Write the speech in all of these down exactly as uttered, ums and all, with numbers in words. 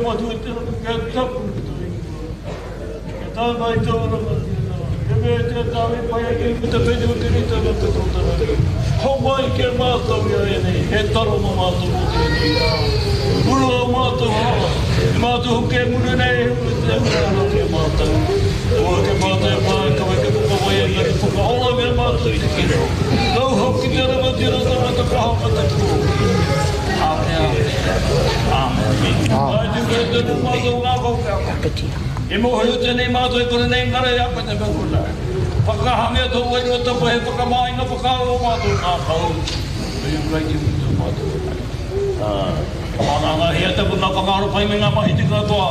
Matua i te rangi, kia tapu tō ingoa. Kia tae mai tō rangatira, kia meatia tāu e pai ai ki te whenua te rite me te tōtara. Homai ki a mātou i āianei, he taro mō mātou mō tēnei rā. Murua ō mātou hara, e mātou hoki e muru nei e huri te hunga hara ki a mātou. Kaua ake mātou e pā, kaua ake whakawai engari whakaorangia mātou i te kino. Nōu hoki te rangatiratanga, te kaha me te korōria. Āke, āke. Āmine. Āe te mea te nō mātou ngākau ki a koe. I mōhio tēnei mātou e kore nei ngara i a koe te mea huna. Whakahangia tō wairua tapu hei whakamāinga whakaaro o mātou ngākau, me i Karaiti hoki tō mātou Ariki. E whāngāngahia taku ngā whakaaro pai me ngā mahi tika katoa.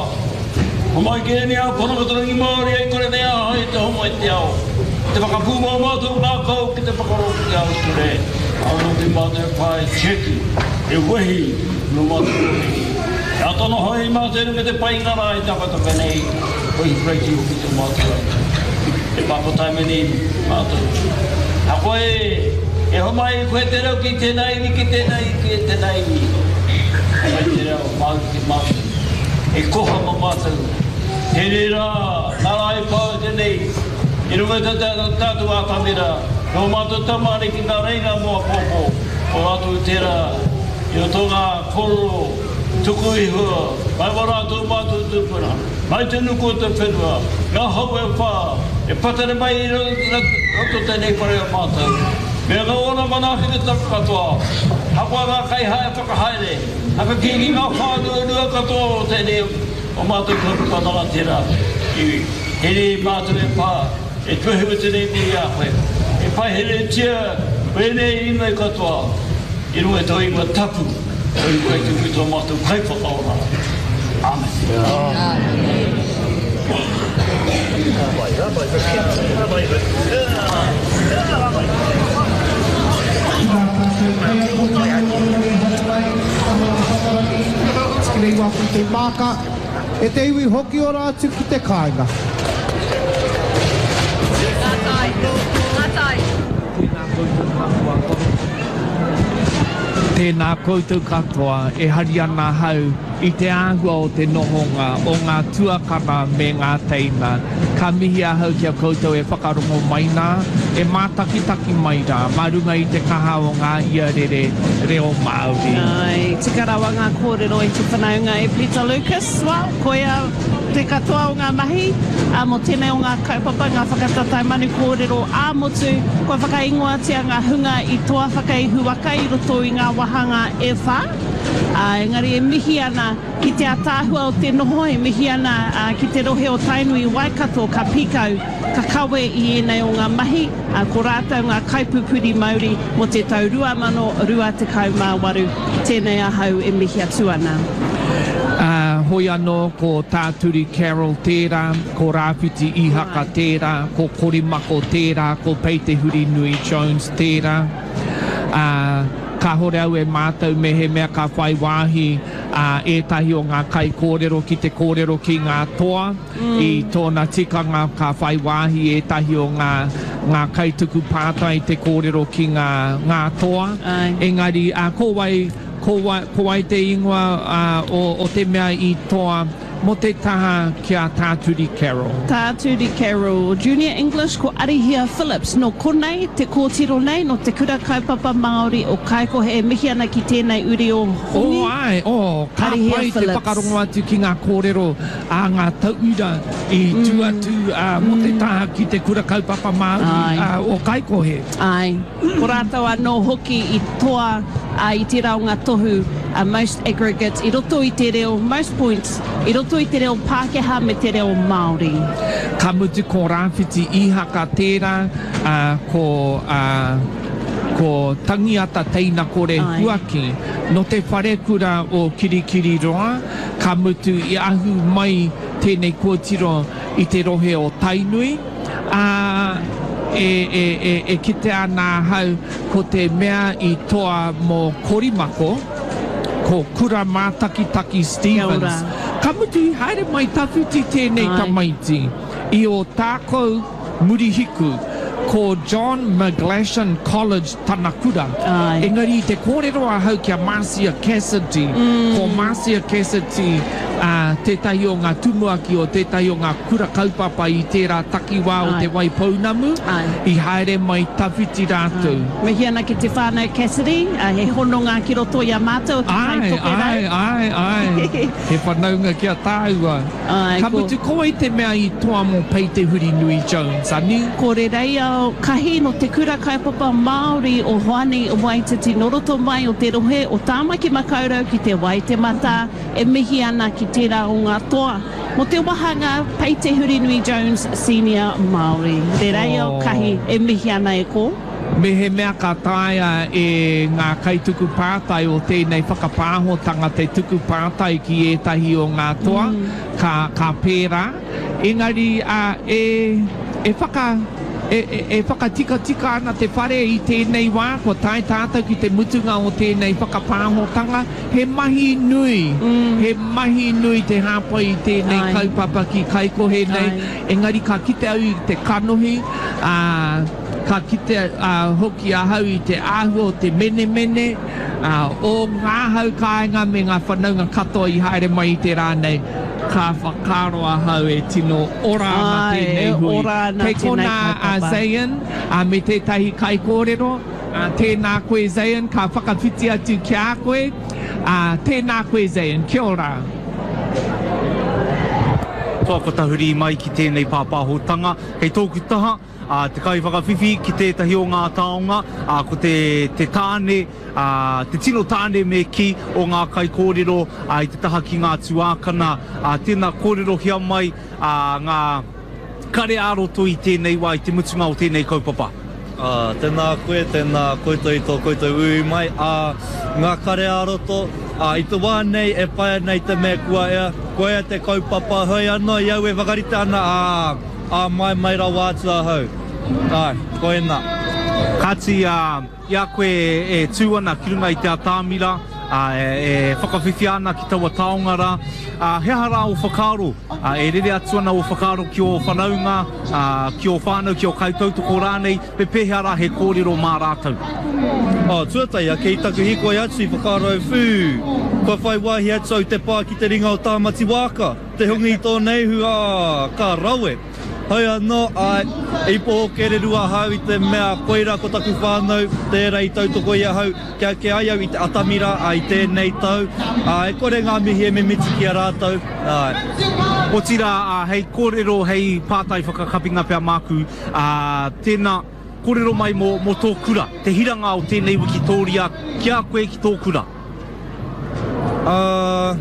Homai ki ēnei ākonga te rangimārie i kore nei ahau i te homai te ao. Te whakapūmau mātou ngākau ki te whakarongo ki te ao ture, āu hoki mātou e pā e tiaki, e wehi nō mātou kōrero. E āta noho ai mātou i runga i te painga rā e takataka nei, ko Ihu Karaiti hoki tō mātou Ariki. E pāpotai mai nei mātou. A koe, e homai ai koe te reo ki tēnā iwi, ki tēnā iwi, ki tēnā iwi. Homai te reo Māori ki mātou. E koha mā mātou. Tēnei rā, nā rā e pā tēnei, i runga i tā tātou ātamira, nō mātou tama ariki ngā reinga mō apōpō, ko rātou tērā i roto ngā kōrero tuku iho, mai wā rātou mātou tūpuna. Mai te nuku o te whenua, ngā hau e whā, e patare mai i roto tēnei whare o mātou, me ngā ōna manaakitanga katoa, ahakoa ngā kaihae whakahaere, whakakīngi ngā whānuanua katoa o tēnei o mātou kaupapa rangatira, i here i mātou e whā, e tuahiwatu nei nei i a koe, e paiheretia wēnei inoi katoa i runga i tō ingoa tapu. Koe kai tuku i tō mātou Kaiwhakaora. Āmene. E te iwi hoki ora atu ki te kāinga. Ngā tai. Ngā tai. Tēnā koutou katoa. Tēnā koutou katoa, e hari ana ahau i te āhua o te nohonga o ngā tuakana me ngā teina. Ka mihi ahau ki a koutou e whakarongo mai nā, e mātakitaki mai rā, mā runga i te kaha o ngā iarere reo Māori. Āe, tika rawa ngā kōrero i te whanaunga e Peter Lucas. Well, koia te katoa o ngā mahi mō tēnei o ngā kaupapa, ngā whakatatae manu kōrero ā-motu, kua whakaingoatia ngā hunga i toa whakaihuwaka i roto i ngā wāhanga e whā. Ā, engari e mihi ana ki te ataahua o te noho, e mihi ana ki te rohe o Tainui Waikato ka pīkau, ka kawe i ēnei o ngā mahi, ā, ko rātou ngā kaipupuri mauri mō te tau rua mano rua tekau mā waru. Tēnei ahau e mihi atu ana. Ā, hoi anō ko Tā Turi Carroll tērā, ko Rāwhiti Ihaka tērā, ko Korimako tērā, ko Pei Te Hurinui Jones tērā. Ā, kāhore au e mātau mehemea ka whai wāhi ētahi o ngā kaikōrero ki te kōrero ki ngā toa, i tōna tikanga ka whai wāhi ētahi o ngā, ngā kaituku pātai te kōrero ki ngā, ngā toa. Engari, ā, ko wai, ko wai, ko wai te ingoa, ā, o, o te mea i toa mō te taha ki a Tā Turi Carroll? Tā Turi Carroll, Junior English Ko Arihia Phillips, nō konei te kōtiro nei, nō Te Kura Kaupapa Māori o Kaikohe e mihi ana ki tēnei uri o Hongi, Oh āe, oh, ka Arihia pai te Phillips. whakarongo atu ki ngā kōrero a ngā tauira i tū atu mō te taha ki Te Kura Kaupapa Māori o Kaikohe. Āe. Ko rātou anō hoki i toa i tērā o ngā tohu most aggregate i roto i te reo, most points, i roto i te reo Pākehā me te reo Māori. Ka mutu ko Rāwhiti Īhaka tērā, ā, ko, ā, ko Tangiata Teinakore Huaki nō te wharekura o Kirikiriroa, ka mutu i ahu mai tēnei kōtiro i te rohe o Tainui, ā, e, e, e, e kitea ana ahau ko te mea i toa mō Korimako, ko Kura Mātakitaki Stevens. Ka mutu i haere mai tawhiti tēnei tamaiti i Ōtākou Murihiku. Ko John McGlashan College tana kura. Ai. Engari i te kōrero ahau ki a Marcia Cassidy, mm. ko Marcia Cassidy uh, tētahi o ngā tumuaki o tētahi o ngā kura kaupapa i tērā takiwā o Ai. Te Waipounamu, Ai. i haere mai tawhiti rātou. Mihi ana ki te whānau Cassidy, uh, he hononga ki roto i a mātou o te Ai, Tai Tokerau. ai, ai, ai. He whanaunga ki a tāua. Ai, Ka ko- mutu, ko wai te mea i toa mō Pei Te Hurinui Jones, ani? Ko Rereia Kahi no te kura kaupapa Māori o Hoani Waititi no roto mai o te rohe o Tāmaki Makaurau ki te Waitemata e mihi ana ki tērā o ngā toa. Mo te wahanga Pei Te Hurinui Jones Senior Māori. Rereia Oh. Kahi e mihi ana e ko. Me he mea ka taea e ngā kaituku pātai o tēnei whakapāhotanga te tuku pātai ki ētahi o ngā toa, mm. ka, ka pērā. Engari uh, e, e whaka... E, e, e whakatikatika ana te whare i tēnei wā, kua tae tātou ki te mutunga o tēnei whakapāhotanga, he mahi nui, mm. he mahi nui te hāpai i tēnei Ai. kaupapa ki Kaikohe nei, Ai. engari ka kite au i te kanohi, ā, ka kite uh, hoki ahau i te āhua o te menemene, uh, o ngā hau kāinga me ngā whanaunga katoa i haere mai i te rā nei, ka whakaaro ahau e tino ora ana Ai, tēnei e hui. ora ana Kei tēnei konā a kaupapa. Zayn, uh, me tētahi kaikōrero, uh, tēnā koe Zayn, ka whakawhiti atu ki a koe, uh, tēnā koe Zayn, kia ora. Toa ko tahuri mai ki tēnei pāpāhotanga. Kei tōku taha, a, te kaiwhakawhiwhi ki tētahi o ngā taonga, a, ko te, te tāne, a, te tino tāne me ki o ngā kaikōrero a, i te taha ki ngā tuākana. A, tēnā kōrerohia mai a, ngā kare ā-roto i tēnei wā, i te mutunga o tēnei kaupapa. Uh, tēnā koe, tēnā koutou i tō koutou ui mai. Uh, ngā kare ā-roto, uh, i te wā nei e pai ana i te mea kua ea, kua ea te kaupapa, hoi anō i au e whakarite ana, ā, ā mai mai rawa atu ahau. Ai, koena. Kāti, uh, i a koe e tū ana ki runga i te atamira, uh, e, e whakawhiwhia ana ki taua taonga rā, uh, he aha rā o whakaaro, uh, e rere atu ana o whakaaro ki o whanaunga, uh, ki o whānau, ki o kaitautoko rānei, me pēhea rā he kōrero mā rātou. Oh, tuatahi, ake i taku hikoi atu i whakaaro whū. Kua whai wāhi atu au te pā ki te ringa o Tāmati Wāka. Te hunga i tō neihu, ā, ka rawe. Hoi anō, ai, i poho kereru ahau i te mea koira ko taku whānau, tērā i tautoko i ahau, kia ke ai au i te atamira ai tēnei tau, ā, e kore ngā mihi e mimiti ki a rātou. Ai. Otirā, ā, hei kōrero, hei pātai whakakapinga pea māku, ā, tēnā, kōrero mai mō, mō tō kura, te hiranga o tēnei wikitōria, ki a koe ki tō kura. Uh,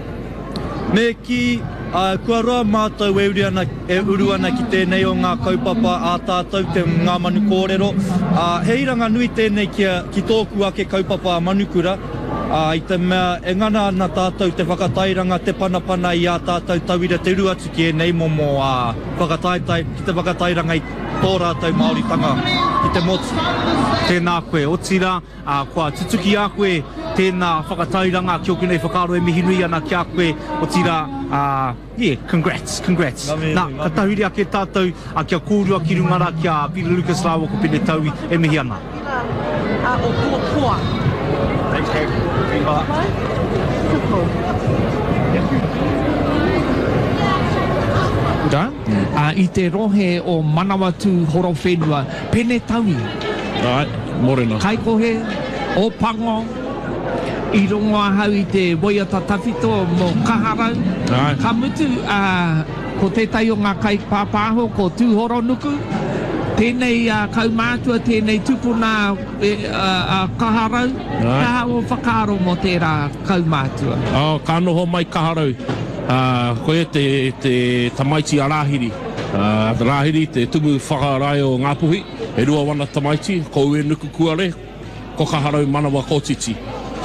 me ki, uh, kua roa mātou e uru ana, e uru ana ki tēnei o ngā kaupapa ā tātou te ngā manu kōrero. Uh, he hiranga nui tēnei ki, a, ki tōku ake kaupapa a Manukura, uh, i te mea e ngana ana tātou te whakatairanga, te panapana i ā tātou tauira te uru atu ki ēnei momo uh, whakataetae, ki te whakatairanga i tō rātou Māoritanga ki te motu. Tēnā koe, otirā, uh, kua tutuki a koe tēnā whakatairanga ki oku nei whakaaro e mihi nui ana ki a koe, otirā, uh, yeah, congrats, congrats. Ngā mihi Nā, nui, ka ngā tahuri ake tātou uh, kia kōrua ki runga rā ki a Peter Lucas rāua ko Pene Taui e mihi ana. O tō toa. Thanks, Kate. Kura, uh, i te rohe o Manawatū Horowhenua, Pene Taui, Ai, morena. Kaikohe, o Pango, i rongo ahau i te waiata tawhito mō Kaharau. Ai. Ka mutu, uh, ko tētahi o ngā kaipāpāho, ko Tūhoronuku, tēnei uh, kaumātua, tēnei tupuna e, uh, uh, Kaharau, Ai. ka o whakaaro mō tērā kaumātua. Oh, ka noho mai Kaharau. Uh, koe te, te tamaiti a Rāhiri. Uh, Rāhiri, te tumu whakarae o Ngāpuhi, e rua wana tamaiti, ko Uenuku Kuare, ko Kaharau Manawa Kōtiti.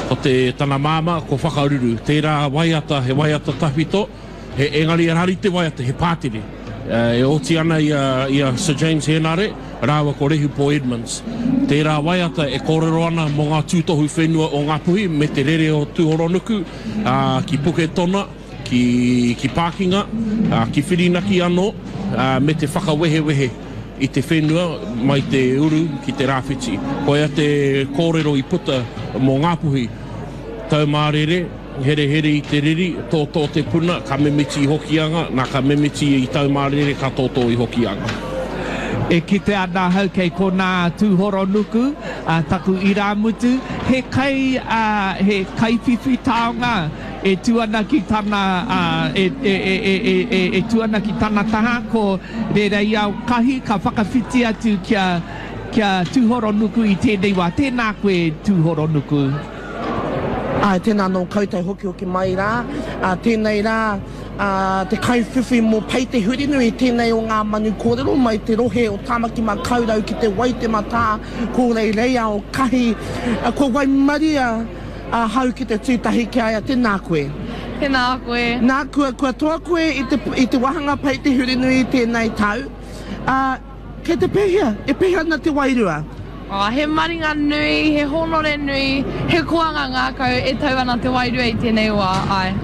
Ko te tana māma, ko Whakaruru. Tērā waiata, he waiata tawhito, he engari e rari te waiata, he pātere. Uh, e oti ana i a, i a Sir James Henare, rāua ko Rehupo Edmonds. Tērā waiata e kōrero ana mō ngā tūtohu whenua o Ngāpuhi me te rere o Tūhoronuku, uh, ki Puketona, ki, ki Pākinga, uh, ki Whirinaki anō, uh, me te whakawehewehe i te whenua mai te uru ki te rāwhiti. Koia te kōrero i puta mō Ngāpuhi, Taumārere, herehere i te riri, tōtō te puna, ka mimiti i Hokianga, nā ka mimiti i Taumārere, ka tōtō i Hokianga. E kite ana ahau kei konā Tūhoronuku, a, taku irāmutu, he kai, a, he kaiwhiwhi taonga e tū ana ki tana, a, e, e, e, e, e, e, e tū ana ki tana taha, ko Rereiao Kahi ka whakawhiti atu kia, kia Tūhoronuku i tēnei wā. Tēnā koe Tūhoronuku. Āe, tēnā nō koutou hokihoki mai rā. Ā, tēnei rā, ā, te kaiwhiwhi mō Pei Te Hurinui, tēnei o ngā manu kōrero mai te rohe o Tāmaki Makaurau ki te Waitematā, ko Reireiao Kahi. Kua waimaria ahau ki te tū tahi ki a ia, tēnā koe. Tēnā koe. Nā, kua, kua toa koe i te, i te wāhanga Pei Te Hurinui i tēnei tau. Ā, kei te pēhea? E pēhea ana te wairua? Oh, he maringa nui, he hōnore nui, he koanga ngākau e tau ana te wairua i tēnei wā, āe.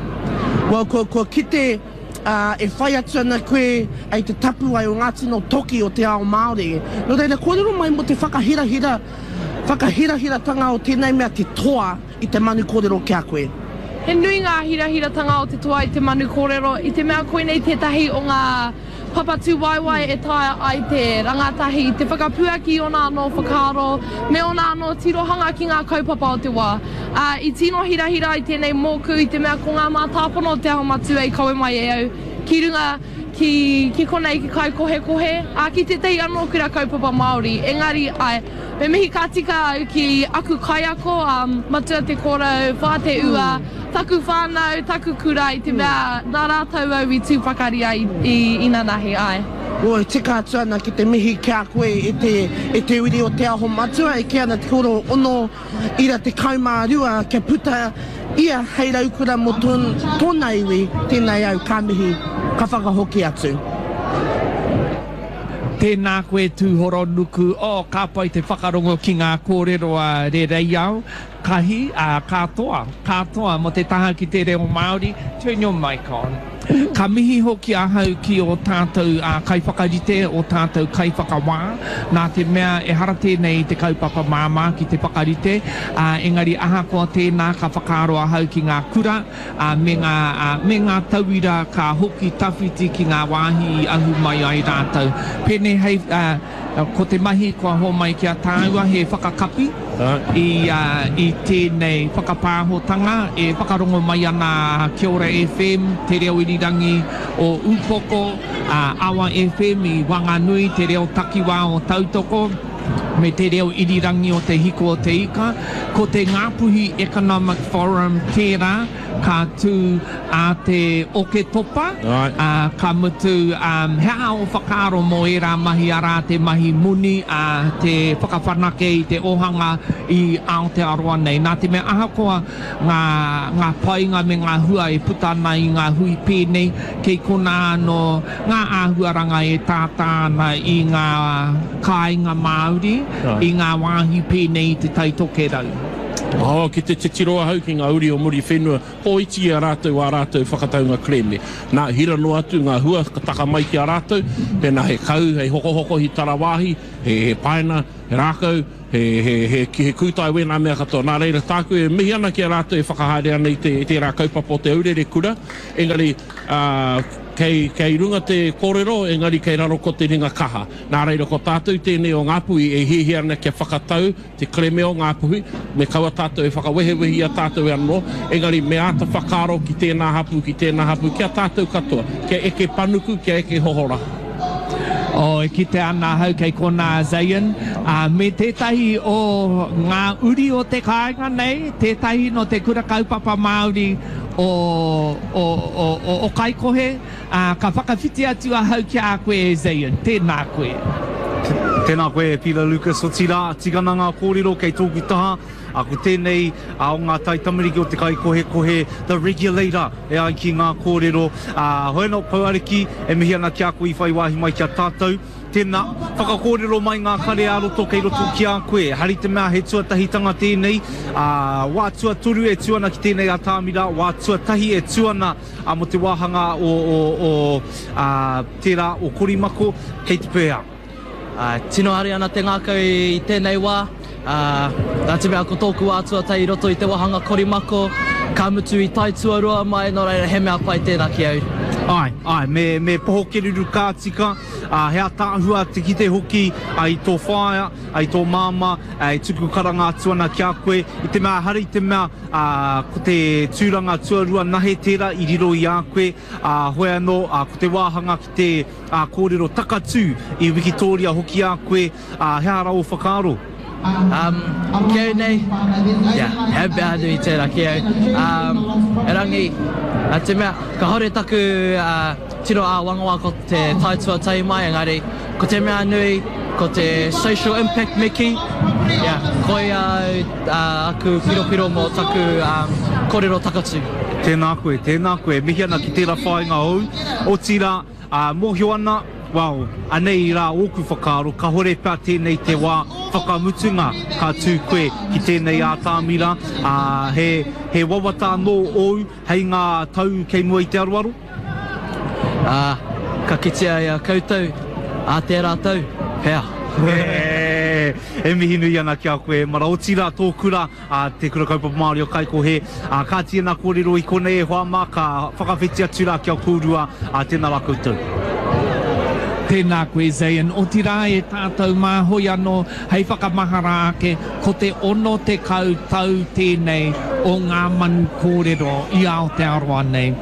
Well, kua, kua kite, ā, e whai atu ana koe i te tapuwae o ngā tino toki o te ao Māori. Nō reira, kōrero mai mō te whakahirahira, whakahirahiratanga o tēnei mea te toa i te manu kōrero ki a koe. He nui ngā hirahiratanga o te toa i te manu kōrero, i te mea koinei tētahi o ngā papa tūwaewae e taea ai te rangatahi te whakapuaki i ōna anō whakaaro me ōna anō tirohanga ki ngā kaupapa o te wā. Ā, i tino hirahira ai tēnei mōku i te mea ko ngā mātāpono o Te Aho Matua i kawe mai e au ki runga ki, ki konei ki Kaikohekohe, ā, ki tētahi anō kura kaupapa Māori. Engari, āe, me mihi ka tika au ki aku kaiako, ā, Matua Te Korou, Whā Te Ua, taku whānau, taku kura i te mea nā rātou au i tū pakari ai i inanahi, āe. Oi, tika atu ana ki te mihi ki a koe e te, e te uri o Te Aho Matua, e kī ana te koro ono ira tekau mā rua kia puta ia hei raukura mō tōna iwi, tēnei au ka mihi, ka whakahoki atu. Tēnā koe Tūhoronuku, oh, ka pai te whakarongo ki ngā kōrero a Rereiao, Kahi, ā, ka toa, ka toa mō te taha ki te reo Māori, turn your mic on. Ka mihi hoki ahau ki ō tātou kaiwhakarite, ō tātou kaiwhakawā, nā te mea ehara tēnei i te kaupapa māmā ki te whakarite, ā, engari ahakoa tēnā ka whakaaro ahau ki ngā kura, ā, me ngā, ā, me ngā tauira ka hoki tawhiti ki ngā wāhi i ahu mai ai rātou. Pēnei hei, ā, ko te mahi kua homai ki a tāua he whakakapi i, ā, i tēnei whakapāhotanga e whakarongo mai ana Kia Ora F M, Te Reo Irirangi o Ūpoko, ā, Awa F M i Wanganui, Te Reo Takiwā o Tautoko, me Te Reo Irirangi o Te Hiko o Te Ika. Ko te Ngāpuhi Economic Forum tērā ka tū a te Oketopa, ā, ka mutu, ā, he aha ō whakaaro mō ērā mahi arā te mahi moni, ā, te whakawhanake i te ohanga i Aotearoa nei. Nā te mea ahakoa ngā, ngā painga me ngā hua e puta ana i ngā hui pēnei, kei konā anō ngā āhuaranga e tātā ana i ngā kāinga Māori, i ngā wāhi pēnei i Te Tai Tokerau. Oh, ki te titiro ahau ki ngā uri o Muriwhenua, kōiti i a rātou ā rātou whakataunga kerēme. Nā, hira noa atu ngā hua ka taka mai ki a rātou, pēnā he kau, he hokohoko, he tarawāhi, he, he paina, he rākau, he, he, he, he kūtai wēnā mea katoa. Nā reira, tāku e mihi ana ki a rātou e whakahaere ana i te, tērā kaupapa o te aurere kura, engari, ā, kei, kei runga te kōrero, engari kei raro ko te ringa kaha. Nā reira, ko tātou tēnei o Ngāpuhi e hiahia ana kia whakatau te kerēme o Ngāpuhi, me kaua tātou e whakawehewehi i a tātou e anō, engari me āta whakaaro ki tēnā hapū, ki tēnā hapū, ki a tātou katoa, kia eke panuku, kia eke hohora. Oh, e kite ana ahau kei konā Zayn, ā, me tētahi o ngā uri o te kāinga nei, tētahi nō te kura kaupapa Māori o, o, o, o, o Kaikohe, ā, ka whakawhiti atu ahau ki a koe e Zayn, tēnā koe. Tēnā koe e Peter Lucas, otirā, tikana ngā kōrero kei tōku taha, ā, ko tēnei ā, o ngā taitamariki o te Kaikohekohe, The Regulator, e ai ki ngā kōrero, ā, hoi anō, Pou Ariki, e mihi ana ki a koe i whai wāhi mai ki a tātou. Tēnā, whakakōrero mai ngā kare ā-roto kei roto ki a koe. Hari te mea he tuatahitanga tēnei, ā, wā tuatoru e tū ana ki tēnei atamira, wā tuatahi e tū ana ā, mō te wāhanga o, o, o, ā, tērā o Korimako, kei te pēhea. Uh, tino hari ana te ngākau i tēnei wā. Uh, nā te mea ko tōku wā tuatahi i roto i te wāhanga korimako, ka mutu i tae tuarua mai, nō reira he mea pai tēnā ki au. Āe, āe, me, me poho keruru ka tika, uh, he ataahua te kite hoki uh, i tō whaea, uh, i tō māmā, uh, e tuku karanga atu ana ki a koe, i te mea hari i te mea uh, ko te tūranga tuarua nahe tērā i riro i a koe, uh, hoi anō, uh, ko te wāhanga ki te uh, kōrero takatū i Wikitoria hoki a koe, uh, he ara o whakaaro? Um, ki au nei, yeah, he mea nui tērā ki au. Um, erangi, a te mea, ka hore taku uh, tiro āwangawanga ko te tae tuatahi mai, engari, ko te mea nui, ko te social impact me kī, yeah, koia uh, aku piropiro mō taku um, kōrero takatū. Tēnā koe, tēnā koe, mihi ana ki tērā whāinga ou, otirā, uh, mōhio ana, well, anei rā ōku whakaaro, ka hore pea tēnei te wā whakamutunga ka tū koe ki tēnei ātamira, uh, he, he wawata anō ōu hei ngā tau kei mua i te aroaro? Uh, ka kitea i a koutou, a tērā tau, pea. E mihi nui ana ki a koe, mara otirā tō kura, a te Kura Kaupapa Māori o Kaikohe, a ka tīna kōrero i konei e hoa mā, ka whakawhiti atu rā ki a kōrua, a tēnā rā koutou. Tēnā koe Zayn, otirā e tātou mā hoi anō hei whakamahara ake, ko te ono tekau tau tēnei o ngā manu kōrero i Aotearoa nei.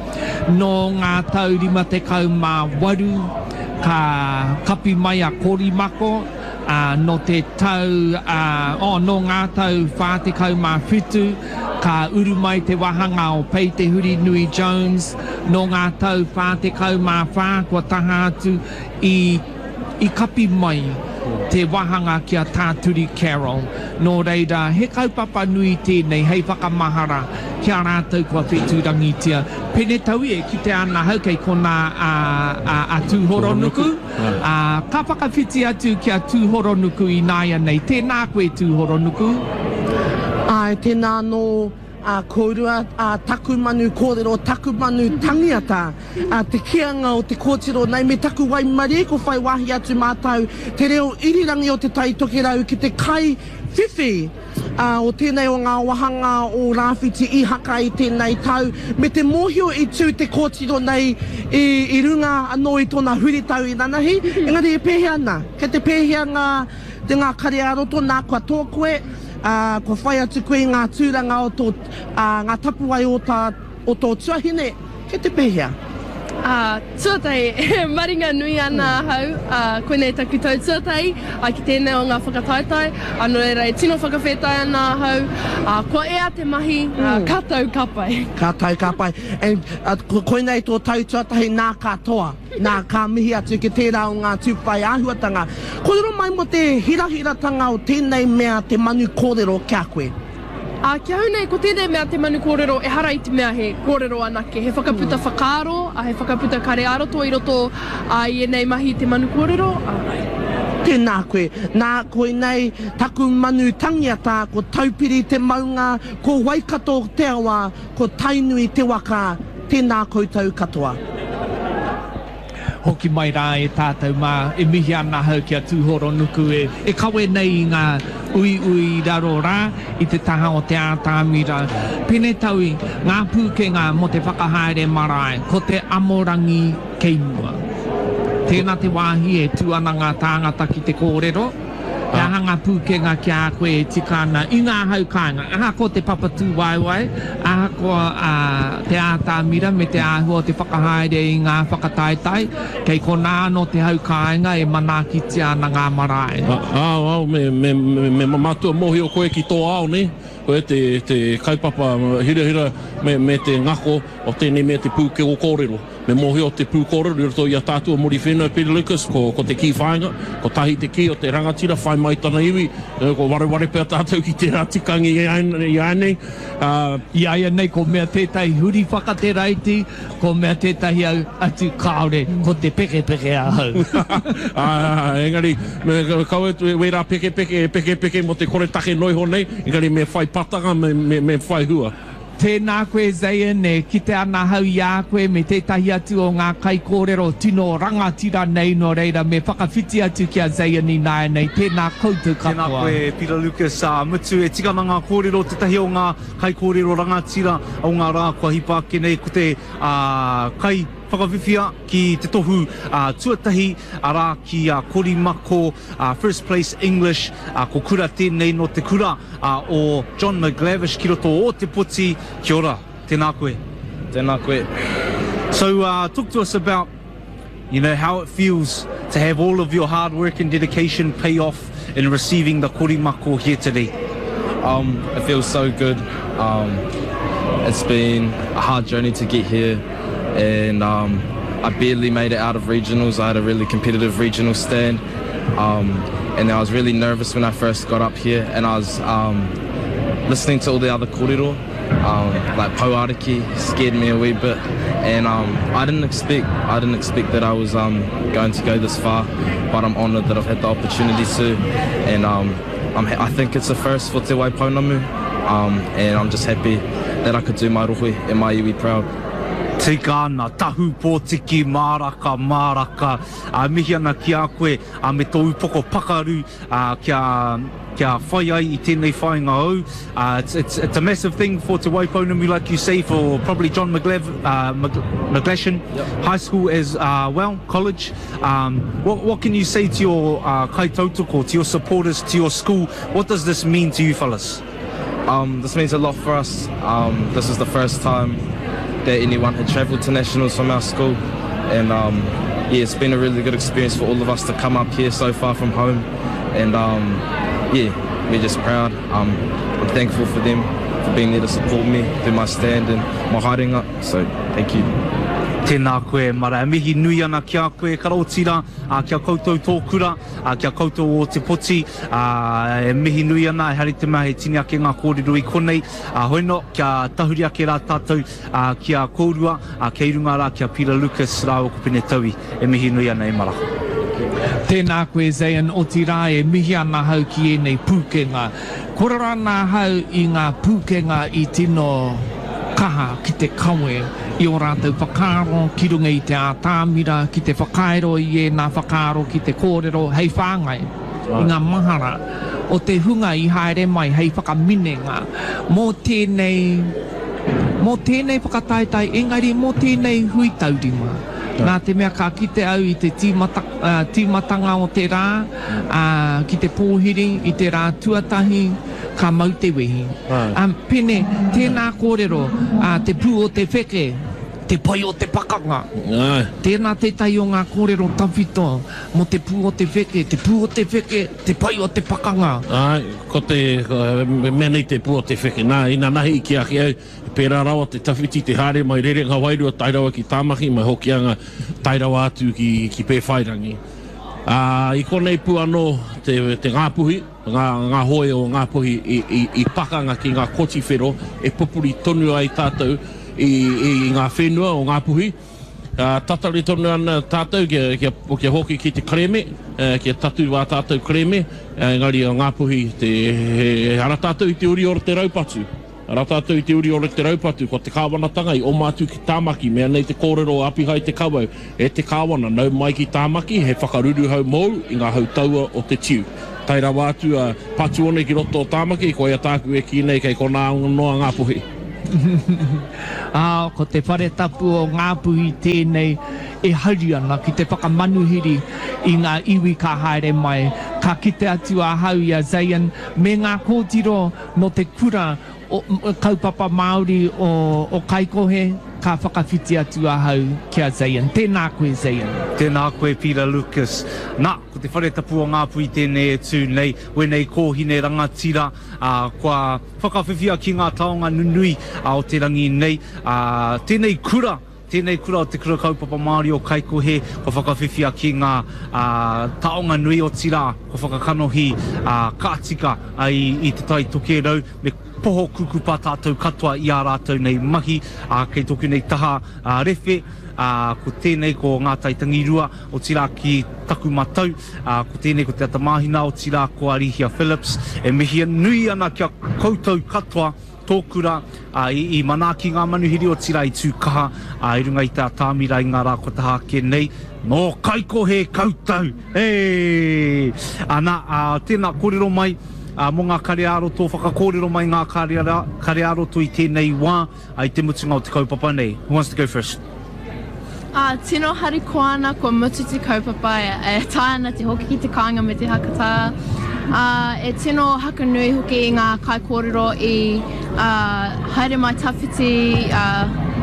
Nō ngā tau rima tekau mā waru, ka kapi mai a Korimako, uh, nō te tau, uh, oh, nō ngā tau whā tekau mā whitu, ka uru mai te wāhanga o Pei Te Hurinui Jones, nō ngā tau whā tekau mā whā, kua taha atu i, i kapi mai te wāhanga ki a Tāturi Carroll. Nō reira, he kaupapa nui tēnei hei whakamahara ki a rātou kua whetūrangitia. Pene tau e ki te ana hau kei kona a, a, a Tūhoronuku. A, ka whakawhiti atu ki a Tūhoronuku i nāia nei. Tēnā koe Tūhoronuku. Ai, tēnā anō a kōrua, a taku manu kōrero, taku manu tangiata, a te kianga o te kōtiro nei, me taku waimarie ko whai wāhi atu mātou, te reo irirangi o te Tai Tokerau ki te kai whiwhi uh, o tēnei o ngā wāhanga o Rāwhiti Ihaka i tēnei tau, me te mōhio i tū te kōtiro nei i, i runga anō i tōna huritau i nanahi, engari e pēhea ana, kei te pēhea ngā, te ngā kare ā-roto nā kua tō koe, Uh, kua whai atu koe i ngā tūranga o tō, uh, ngā tapuwae o, tā, o tō tuahine, kei te pēhea? Uh, tuatahi, e maringa nui ana ahau, uh, koinei taku tau tuatahi, uh, ki tēnei o ngā whakataetae, uh, nō reira e tino whakawhetai ana ahau, uh, kua ea te mahi, uh, ka tau ka pai. Ka tau ka pai. And, uh, koinei tō tau tuatahi nā katoa, nā ka mihi atu ki tērā o ngā tūpai āhuatanga. Kōrero mai mō te hirahiratanga o tēnei mea te manu kōrero ki a koe? Uh, ki ahau nei, ko tēnei mea te manu kōrero, ehara i te mea he kōrero anake, he whakaputa whakaaro, uh, he whakaputa kare ā-roto i roto uh, i ēnei mahi te manu kōrero. Uh, Tēnā koe. Nā koinei taku manu tangiata, ko Taupiri te maunga, ko Waikato te awa, ko Tainui te waka, tēnā koutou katoa. Hoki mai rā e tātou mā, e mihi ana hau ki a Tūhoronuku e, e kawe nei i ngā uiui raro rā i te taha o te ātamira. Pene taui, ngā pūkenga mō te whakahaere marae, ko te amorangi kei mua. Tēnā te wāhi e tū ana ngā tāngata ki te kōrero, he aha ngā pūkenga ki a koe e tika ana i ngā hau kāinga. Ahakoa te papatū waewae, ahakoa uh, te ātamira me te āhua o te whakahaere i ngā whakataetae, kei konā anō te hau kāinga e manaakitia ana ngā marae. Ao, ao, me, me, me, me mātua mōhio koe ki tō ao, ne? Koe te, te kaupapa hirahira me, me te ngako o tēnei mea te pūkego kōrero. Me mōhio te pūkōrero i roto i a tātua Muriwhenua Peter Lucas, ko, ko te kī whāinga, ko tahi te kī o te rangatira, whai mai tana iwi, ko wareware pea tātou ki tērā tikangi i ai nei. Uh, I aia nei ko mea tētahi huri whakateraiti, ko mea tētahi au atu kāore, ko te pekepeke ahau. uh, engari, me, kaua wērā pekepeke, pekepeke mo te koretake noiho nei, engari me whai patanga, me, me, me whai hua. Tēnā koe Zayn, e kite ana ahau i a koe me tētahi atu o ngā kaikōrero tino rangatira nei, nō reira me whakawhiti atu ki a Zayn ināianei. Tēnā koutou katoa. Tēnā koe Peter Lucas, ā, mutu e tika ana ngā kōrero, tētahi o ngā kaikōrero rangatira o ngā rā kua hipa ake nei, ko te, ā, kai whakawhiwhia ki te tohu tuatahi, arā, ki a Korimako, First Place English, ko Kura tēnei nō te kura o John McGlavish ki roto o Ōtepoti. Kia ora, tēnā koe. Tēnā koe. So uh, talk to us about, you know, how it feels to have all of your hard work and dedication pay off in receiving the Korimako here today. Um, it feels so good. Um, it's been a hard journey to get here, and um, I barely made it out of regionals. I had a really competitive regional stand, um, and I was really nervous when I first got up here, and I was um, listening to all the other kōrero, um, like Pouariki scared me a wee bit, and um, I didn't expect I didn't expect that I was um, going to go this far, but I'm honoured that I've had the opportunity to, and um, I'm ha- I think it's a first for Te Waipounamu, um, and I'm just happy that I could do my rohe and my iwi proud. Tika ana, tahu pōtiki, māraka, māraka, ā, mihi ana ki a koe, ā, me tō upoko pakaru, ā, kia, kia whai ai i tēnei whāinga hou. Uh, it's, it's, it's a massive thing for Te Waipounamu, like you say, for probably John McGlav, uh, McGlashan yep. High School as uh, well, college. Um, what, what can you say to your uh, kaitautoko, to your supporters, to your school? What does this mean to you fellas? Um, this means a lot for us. Um, this is the first time that anyone had travelled to nationals from our school, and um, yeah, it's been a really good experience for all of us to come up here so far from home, and um, yeah, we're just proud. Um, I'm thankful for them for being there to support me through my stand and my haerenga, so thank you. Tēnā koe, mara. E mihi nui ana ki a koe, ka otirā, kia koutou tō kura, kia koutou o Te Poti, e mihi nui ana, e hari te mea he tini ake ngā kōrero i konei, hoi no, kia tahuri ake rā tātou ki a kōrua, kei runga rā ki a Peter Lucas rāua ko Pene Taui, e mihi nui ana e mara. Tēnā koe Zayn, otirā e mihi ana ahau ki ēnei pūkenga. Kōrero ana ahau i ngā pūkenga i tino kaha ki te kawe i ō rātou whakaaro ki runga i te ātamira, ki te whakairo i ēnā whakaaro ki te kōrero hei whāngai i ngā mahara o te hunga i haere mai hei whakaminenga mō tēnei, mō tēnei whakataetae, engari mō tēnei hui taurima. Nā te mea ka kite au i te tīmata, tīmatanga o te rā, ā, ki te pōhiri i te rā tuatahi, ka mau te wehi. Um, Pene, tēnā kōrero, ā, te pū o te wheke, te pai o te pakanga. Tēnā tētahi o ngā kōrero tawhito mō te pū o te wheke, te pū o te wheke, te pai o te pakanga. Āe, ko te mea nei te pū o te wheke. Nā, inanahi i kī ake au, pērā rawa te tawhiti, te haere mai Rerenga Wairua tae rawa ki Tāmaki, mai Hokianga tae rawa atu ki, ki Pēwhairangi. Ā, i konei pū anō te, te Ngāpuhi, ngā, ngā hoe o Ngāpuhi i, i, i pakanga ki ngā koti whero e pupuri tonu ai tātou i, i, i ngā whenua o Ngāpuhi. Ā, tatari tonu ana tātou kia, kia, kia hoki ki te kerēme, kia tatū ā tātou kerēme, engari o Ngāpuhi te, he, he ara tātou i te uri o te raupatu. Arā tātou i te uri o te raupatu, ko te kāwanatanga i oma atu ki Tāmaki, mea nei te kōrero a Apihai Te Kawau, e te kāwana, nau mai ki Tāmaki, he whakaruruhau mōu i ngā hautaua o te tiu. Tae rawa atu a Patuone ki roto o Tāmaki, koia tāku e kī nei kei konā noa Ngāpuhi. Ā, ko te whare tapu o Ngāpuhi tēnei e hari ana ki te whakamanuhiri i ngā iwi ka haere mai. Ka kite atu ahau i a Zayn me ngā kōtiro nō te kura o, kaupapa Māori o, o Kaikohe, ka whakawhiti atu ahau ki a Zayn. Tēnā koe, Zayn. Tēnā koe, Peter Lucas. Nā, ko te whare tapu o Ngāpuhi tēnei e tū nei, wēnei kōhine rangatira, ā, kua whakawhiwhia ki ngā taonga nunui o te rangi nei. Ā, tēnei kura, tēnei kura o te Kura Kaupapa Māori o Kaikohe, kua whakawhiwhia ki ngā ā, taonga nui otirā, kua whakakanohi ā, ka tika i, i Te Tai Tokerau, me poho kukupa tātou katoa i ā rātou nei mahi, ā, kei tōku nei taha ā, rewhe, ā, ko tēnei ko Ngā Tai Tangirua, otirā ki taku matau, ā, ko tēnei ko Te Atamāhina, otirā ko Arihia Phillips, e mihi nui ana ki a koutou katoa, tō kura, ā, i, i manaaki ngā manuhiri, otirā i tū kaha, ā, i runga i te atamira i ngā rā kua taha ake nei. Nō Kaikohe koutou! Hey! Ana, ā, tēnā, kōrero mai, ā, mō ngā kare ā-roto, whakakōrero mai ngā kare, kare ā-roto i tēnei wā, ā, i te mutunga o te kaupapa nei. Who wants to go first? Ā, tino harikoa ana kua mutu te kaupapa, e taea ana te hoki ki te kāinga me te hakatā. Ā, e tino hakanui hoki i ngā kaikōrero i, ā, haere mai tawhiti, ā,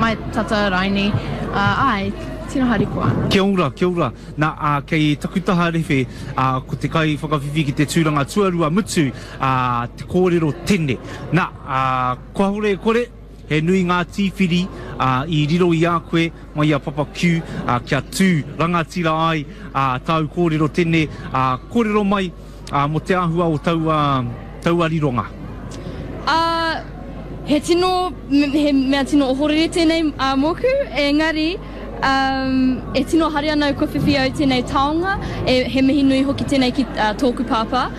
mai tata raini. Ā, āe, tino harikoa ana. Kia ora, kia ora. Nā, ā, kei taku taha rewhe, ā, ko te kaiwhakawhiwhi ki te tūranga tuarua mutu, ā, te kōrero tene. Nā, ā, kāore e kore, He nui ngā tīwhiri i riro i a koe mai i a Papa Q kia tū rangatira ai tāu kōrero tene, kōrero mai mō te āhua o taua, taua rironga. Ā, he tino, he mea tino ohorere tēnei mōku, engari, e tino hari ana au kua whiwhi au tēnei taonga, e, he mihi nui hoki tēnei ki tōku pāpā,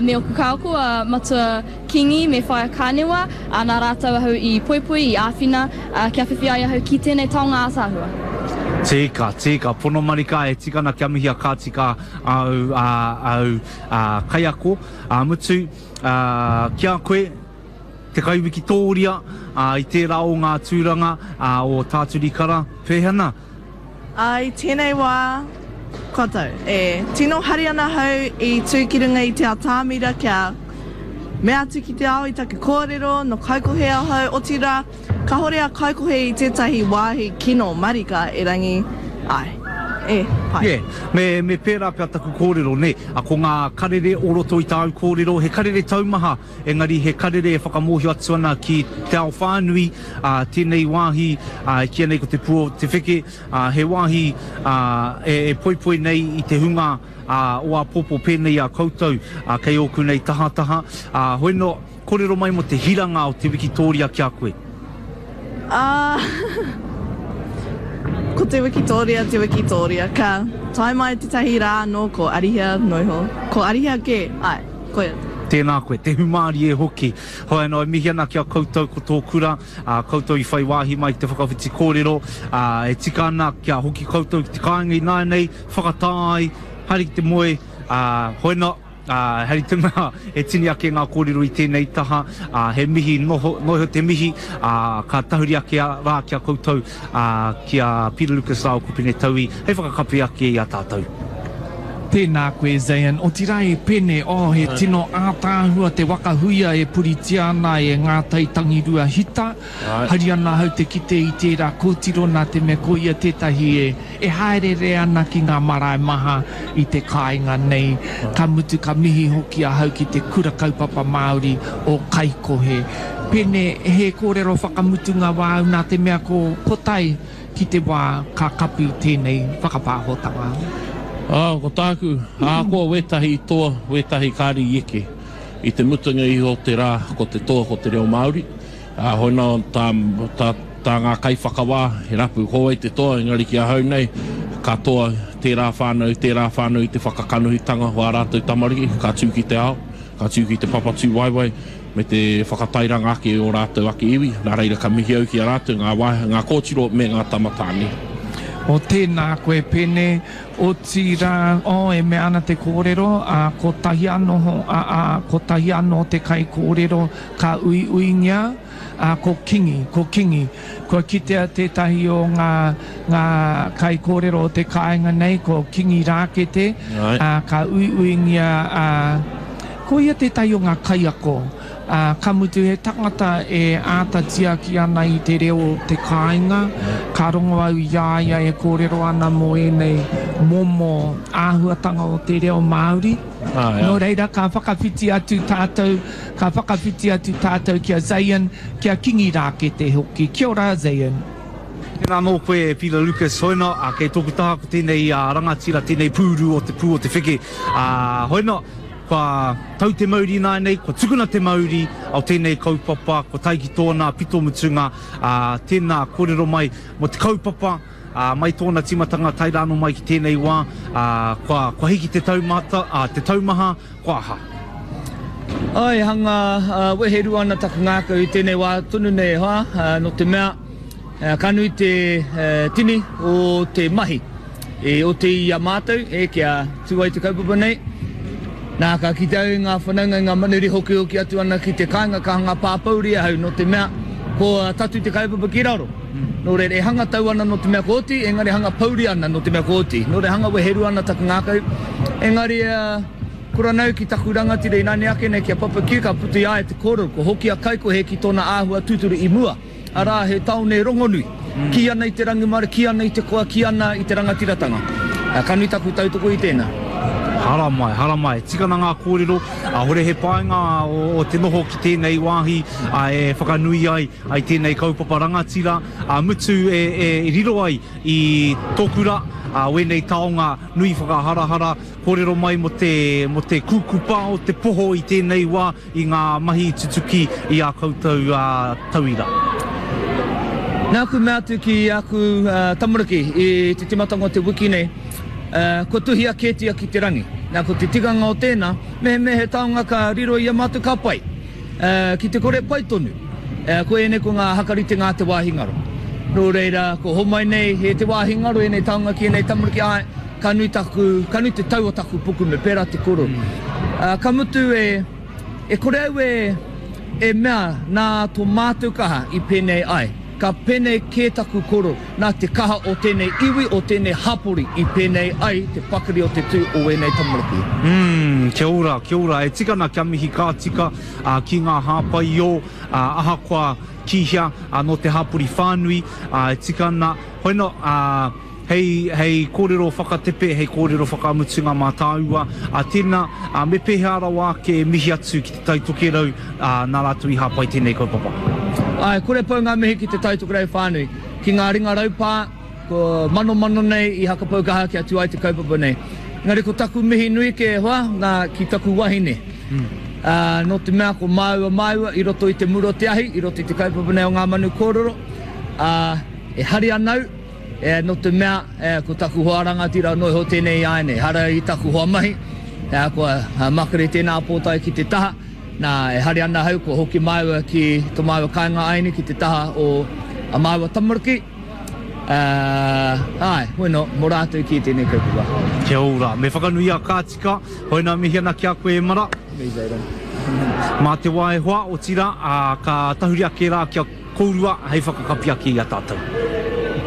me ōku kāoko, a Matua Kingi me Whaea Kānewa, ā, nā rātou ahau i poipoi, i āwhina, ā, kia whiwhi ai ahau ki tēnei taonga ātaahua. Tika, tika, pono marika, e tika ana kia mihia ka tika āu, āu, ā, kaiako, ā, mutu, ā, ki a koe, te kaiwikitōria, ā, i tērā o ngā tūranga, ā, o Tāturi Kara, pēhea ana? Ā, i tēnei wā, kua tau. E tino hari ana ahau i tū ki runga i te atamira kia mea atu ki te ao i taku kōrero, nō Kaikohe ahau, otirā, kāhore a Kaikohe i tētahi wāhi kino marika, erangi, āe, e, pai. Yeah, me, me pērā pea taku kōrero, nē, a, ko ngā karere o roto i tāu kōrero, he karere taumaha, engari he karere e whakamōhio atu ana ki te ao whānui, ā, tēnei wāhi, ā, e kīia nei ko Te Pū o Te Wheke, ā, he wāhi, ā, e, e poipoi nei i te hunga, ā, o āpōpō pēnei i a koutou, ā, kei ōku nei tahataha, ā, hoi nō, kōrero mai mō te hiranga o te wikitōria ki a koe. Ā, ko te wikitōria te wikitōria, ka tae mai tētahi rā anō ko Arihia noiho, ko Arihia kē, āe, koia. Tēnā koe, te humārie hoki. Hoi anō, e mihi ana ki a koutou ko tō kura, ā, koutou i whai wāhi mai ki te whakawhiti kōrero, ā, e tika ana kia hoki koutou ki te kāinga ināianei, whakatā ai, haere ki te moe, ā, hoi anō, ā, hei te mea e tini ake ngā kōrero i tēnei taha, ā, he mihi noho, noho te mihi, ā, ka tahuri ake rā ki a koutou, ā, ki a Peter Lucas rāua ko Pene Taui, hei whakakapi ake i a tātou. Tēnā koe Zayn, otirā e Pene, oh he tino ātaahua te waka huia e puritia ana e Ngā Tai Tangirua Hita. Hari ana ahau te kite i tērā kōtiro nā te mea ko ia tētahi e e haereere ana ki ngā marae maha i te kāinga nei. Ka mutu ka mihi hoki ahau ki te Kura Kaupapa Māori o Kaikohe. Pene, he kōrero whakamutunga wāu nā te mea ko ko tae ki te wā ka kapi tēnei whakapāhotanga. Ā, ko tāku, ahakoa wētahi i toa, wētahi kāre i eke, i te mutunga iho o te rā, ko te toa ko te reo Māori, ā, hoi nā tā, tā, tā ngā kaiwhakawā he rapu ko wai te toa, engari ki ahau nei, ka toa tērā whānau, tērā whānau i te whakakanohitanga o ā rātou tamariki, ka tū ki te ao, ka tū ki te papatūwaewae, me te whakatairanga ake i ō rātou ake iwi, nā reira ka mihi au ki a rātou, ngā wā, ngā kōtiro me ngā tama tāne. O tēnā koe Pene, otirā, oh, e mea ana te kōrero, ā, kotahi anō, ā, ā, kotahi anō te kaikōrero ka uiuingia, ā, ko Kingi, ko Kingi. Kua kitea tētahi o ngā, ngā kaikōrero o te kāinga nei, ko Kingi Rākete, ā, ka uiuingia, ā, Ko ia tētahi o ngā kaiako, ā, ka mutu he tangata e āta tiaki ana i te reo o te kāinga. Ka rongo au i a ia e kōrero ana mō ēnei momo āhuatanga o te reo Māori. Nō reira, ka whakawhiti atu tātou, ka whakawhiti atu tātou ki a Zayn, ki a Kingi Rākete hoki. Kia ora, Zayn. Tēnā anō koe e Peter Lucas, hoina, ā, kei tōku taha ko tēnei rangatira, tēnei pūru o te pū o te wheke, ā, hoina, Kua tau te mauri ināianei, kua tukuna te mauri o tēnei kaupapa, kua tae ki tōna pito mutunga, ā, tēnā kōrero mai mō te kaupapa, ā, mai tōna tīmatanga tae rā anō mai ki tēnei wā, ā, kua, kua hiki te taumata, ā, te taumaha, kua aha? Ai, hanga uh, weherua ana taku ngākau i tēnei wā tonu nei e hoa, uh, no te mea, uh, ka nui te uh, tini o te mahi e o te i a mātou, e kia tū ai te kaupapa nei. Nā, ka kite au i ngā whanaunga i ngā manuri hoki hoki atu ana ki te kāinga ka hanga pāpouri ahau no te mea ko tatu te kaupapa ki raro. Nō reira, e hanga tau ana no te mea ko oti, engari hanga pouri ana no te mea ko oti. Nō reira, hanga weherua ana taku ngākau. Engari, uh, kura nau ki taku rangatira ināne ake nei ki a Papa Q, ka puta i a ia te kōrero, ko hoki a Kaikohe ki tōna āhua tūturu i mua. Arā, he tāone rongonui. Mm. Kī ana i te rangimārie, kī ana i te koa, kī ana i te rangatiratanga. Ka nui taku tautoko i tēnā. Haramai, haramai. Tikana ngā kōrero, a hore he painga o, o te noho ki tēnei wāhi a, e whakanui ai ai tēnei kaupapa rangatira, a mutu e, e riro ai i tōkura, a wēnei taonga nui whakaharahara, kōrero mai mo te, mo te kūkupa o te poho i tēnei wā i ngā mahi tutuki i a koutou a, tauira. Nāku mea atu ki aku uh, tamariki i te timatanga o te wiki nei, uh, kua tuhia kētia ki te rangi. Nā, ko te tikanga o tēnā, mehemea he taonga ka riro i a mātou ka pai. Uh, ki te kore pai tonu. Uh, ko ēnei ko ngā hakaritenga a te wāhi ngaro. Nō reira, ko homai nei he te wāhi ngaro ēnei taonga ki ēnei tamariki, ai, ka nui, taku, ka nui te tau o taku puku me pērā te koro. Uh, ka mutu e, e kore au e, e mea nā tō mātou kaha i pēnei ai. Ka pēnei kē taku koro, nā te kaha o tēnei iwi, o tēnei hapori i pēnei ai te pakari o te tū o ēnei tamariki. Mm, kia ora, kia ora. E tikana kia mihi ka tika uh, ki ngā hāpai o, uh, ahakoa ki hea, uh, no te hapori whānui, uh, e tikana, hoino, uh, hei, hei kōrero whakatepe, hei kōrero whakamutunga mā tāua. A tēnā, a, me pēhea rawa ake e mihi atu ki te Tai Tokerau, a, nā rātou i hāpai tēnei kaupapa. Ai, kore pau ngā mihi ki te Tai Tokerau whānui. Ki ngā ringa raupā, ko manomano nei i hakapau kaha kia tū ai te kaupapa nei. Engari ko taku mihi nui ke hoa, nā, ki taku wahine. Mm. Uh, nō te mea ko māua māua i roto i te muro te ahi, i roto i te kaupapa nei o ngā manu kōrero. Uh, e hari anau, e, nō te mea e, ko taku hoa rangatira noi ho tēnei ai nei. Hara i taku hoa mahi, e, kua makere tēnā pōtae ki te taha. Nā, e hari ana hau, ko hoki māua ki tō māua kāinga aini ki te taha o a māua tamariki. Uh, ai, hoino, mō rātou ki tēnei kaupapa. Kia ora, me whakanui a ka tika, hoina mihi ana ki a koe e mara. Me Zayden. Mā te wā e hoa, otira, a, ka tahuri ake rā kia kourua hei whakakapi ake i a tātou.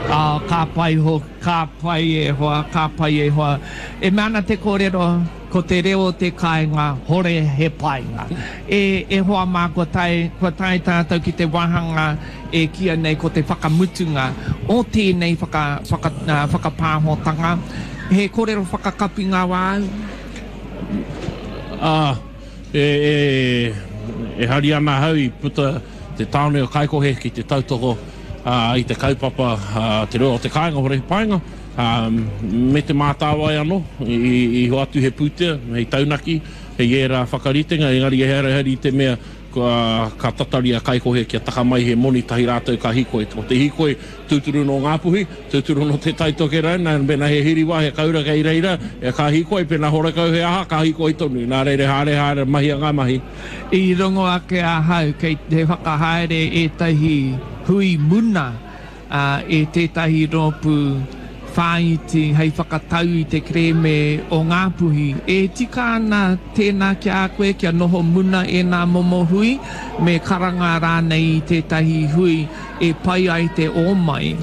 Ah, ka pai ho, ka pai e hoa, ka pai e hoa. E mea ana te kōrero, ko te reo o te kāinga, hore he painga. E, e hoa mā, kua tae, kua tae tātou ki te wāhanga e kia nei ko te whakamutunga o tēnei whaka, whaka, uh, whakapāhotanga. He kōrero whakakapi ngā wāu? Ah, e, e, e hari ana hau i puta te tāone o Kaikohe ki te tautoko uh, i te kaupapa uh, te reo o te kāinga hore he painga, um, me te mātāwai anō, i, i hoatu he pūtea, hei taunaki, hei ērā whakaritenga, engari e here hari te mea kua, ka tatari a Kaikohe kia taka mai he moni tahi rātou ka hikoi. Ko te hikoi tūturu no Ngāpuhi, tūturu no te Tai Tokerau, nā pena he hiriwa, he kaura kei reira, e ka hikoi, pena horekau he aha, ka hikoi tonu. Nā reira haere haere mahi a ngā mahi. I rongo ake ahau kei te whakahaere ētahi hui muna uh, e tētahi rōpū whāiti hei whakatau i te kerēme o Ngāpuhi. E tika ana tēnā ki a koe kia noho muna e nā momo hui, me karanga rānei i tētahi hui e pai ai te o mai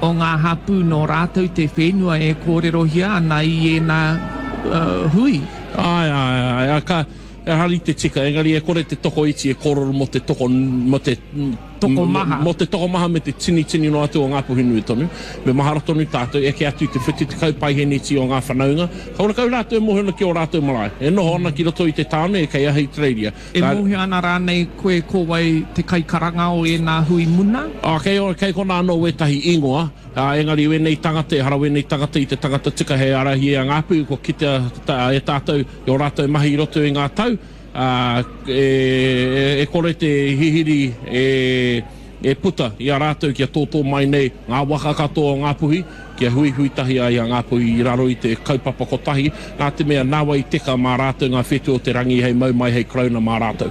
o ngā hapū nō rātou te whenua e kōrerohia ana i ēnā uh, hui. Ai, ai, ai, ai, ka, e hari te tika, engari e kore te toko iti e kōrero mō te toko, mō te tokomaha. Mō te tokomaha me te tini tini no atu o Ngāpuhi nui tonu. Me mahara tonu tātou, eke atu i te whitu tekau paiheniti o ngā whanaunga. Ka ora kau rātou e mōhio ana ki o rātou marae. E noho ana ki roto i te tāone e kei ahi Australia. E mōhio ana rānei koe ko wai te kaikaranga o ēnā hui muna? Ah, kei, kei kona anō wētahi ingoa. Uh, engari wēnei tangata, hara wēnei tangata i te tangata tika hei arahi e a Ngāpuhi, kua kitea ta, e tātou i o rātou mahi i roto i ngā tau. Uh, e, e, e kore te hihiri e, e puta i a rātou kia tōtō mai nei ngā waka katoa o Ngāpuhi, kia huihui tahi ai a Ngāpuhi i raro i te kaupapa kotahi, nā te mea nāwai teka mā rātou ngā whetū o te rangi hei mau mai hei karauna mā rātou.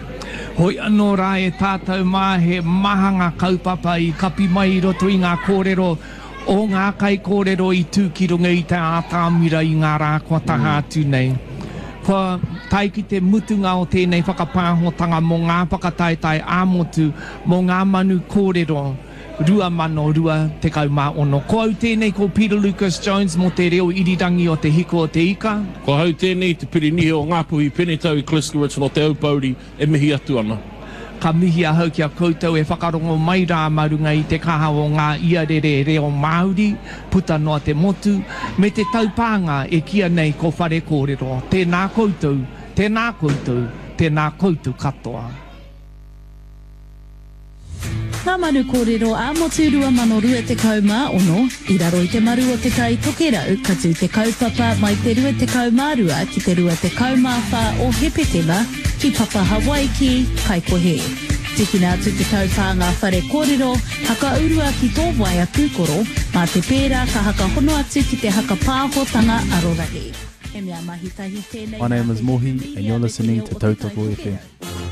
Hoi anō rā e tātou mā he maha ngā kaupapa i kapi mai i roto i ngā kōrero o ngā kaikōrero i tū ki runga i te ātamira i ngā rā kua taha atu nei. Kua tae ki te mutunga o tēnei whakapāhotanga mō ngā whakataetae ā-motu mō ngā manu kōrero rua mano rua tekau mā ono. Ko au tēnei ko Peter Lucas Jones mō te reo irirangi o Te Hiku o Te Ika. Ko ahau tēnei te Pirinihi o Ngāpuhi Penetaui Kleschowicz nō Te Aupōuri e mihi atu ana. Ka mihi ahau ki a koutou e whakarongo mai rā mā runga i te kaha o ngā iarere reo Māori puta noa te motu, me te taupānga e kīia nei ko Whare Kōrero. Tēnā koutou, tēnā koutou, tēnā koutou katoa. Ngā Manu Kōrero ā-Motu rua mano rua tekau mā ono, i raro i te maru o Te Tai Tokerau, ka tū te kaupapa mai te rua tekau mā rua ki te rua tekau mā whā o Hepetema ki Papa Hawaiki, Kaikohe. Tikina atu te taupānga Whare Kōrero, hakaurua ki tō waea pūkoro, mā te pērā ka hakahono atu ki te hakapāhotanga arorahi. He mea mahi tahi tēnei My nā name te is Mohi Hiki and you're Media me te listening reo to o Te Tai Tautoko F M. Tokerau.